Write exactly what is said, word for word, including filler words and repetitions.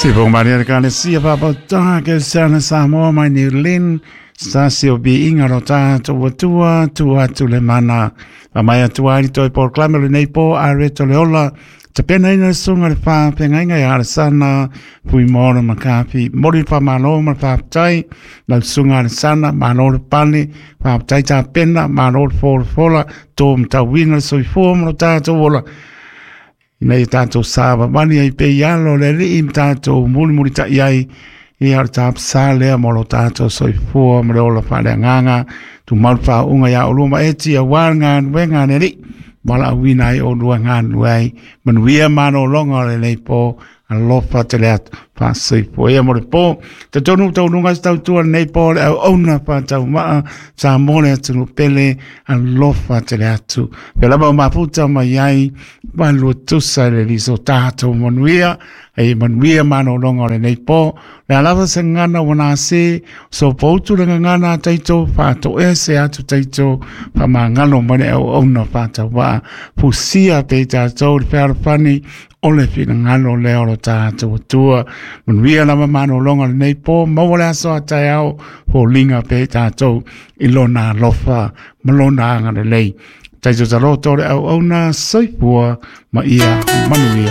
Se po maria le kalesia papautaga kerisiano Samoa mai New Zealand se tasi o viiga lo tatou Atua tuu atu le mana faamai atu ai toe polokalame o lenei po areto le ola tapenaina le susuga le faafeagaiga ia Alesana Fuimaono Makafi. Momoli le faamalo ma le faafetai lau susuga Alesana, malo le pale, faafetai tapena, malo le folafola to matauina le soifua ma lo tatou ola ina ia tatou savavali ai pei alo le Alii ma tatou mulimulita'i ai ia o le tapasā lea mo lo tatou soifua ma le ola faaleagaga tumau le faauuga iā olua ma eti auā le galuega a le Alii valaauina ai olua galulue ai manuia malologa o lenei po alofa tele atu faasoifua ia mo le po tatonu taunuga se tautua lenei po le auauna faataumaa sa mo le atunuu pele alofa tele atu pe lava o mafuta mai ai malua tusa i le liso tatou manuia e manuia malologa o lenei po le alava se gagana ua nase so poutu le gagana a taito faatoea se atu taito faamagalo mai le auauna faatauvaa fusia pei tatou le fealofani o le finagalo lea o lo tatou Atua manuia lava malologa o lenei po maua le aso a taeao foliga pei tatou i lona alofa ma lona agalelei taito taloto le auauna soifua ma ia manuia.